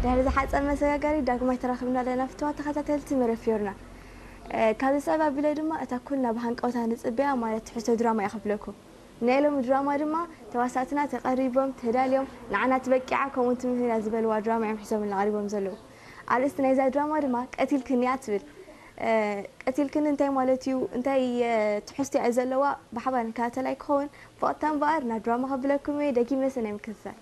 ድሕሪ ዝሓጸር መሰጋገሪ ዳግማይ ተራኺብና ኣለና ፍትዋት ተኸታተልቲ መረብ ፊዮርና። እ፣ ካብዚ ጸባ ኣቢለ ድማ እታ ኩልና ብሃንቀውታ ንጽበያ ማለት ትሕዝቶ ድራማ እየ ከፍለኩም። ናይ ሎሚ ድራማ ድማ ተዋሳእትና ተቐሪቦም፣ ተዳልዮም፣ ንዓና ትበቂዓ ከምኡ ትምህር እያ ዝበልዋ ድራማ እዮም ሒዞምልና ቀሪቦም ዘለዉ። ኣርእስቲ ናይዛ ድራማ ድማ ቀቲልክኒ እያ ትብል። እ፣ ቀቲልክኒ እንታይ ማለት እዩ? እንታይ፣ እ፣ ትሕዝቶ እያ ዘለዋ? ብሓባር ንከታተል ኣይክኸውን? ብቐጥታ እምበኣር ናብ ድራማ ከብለኩም እየ፣ ደጊመ ሰናይ ምክትታል።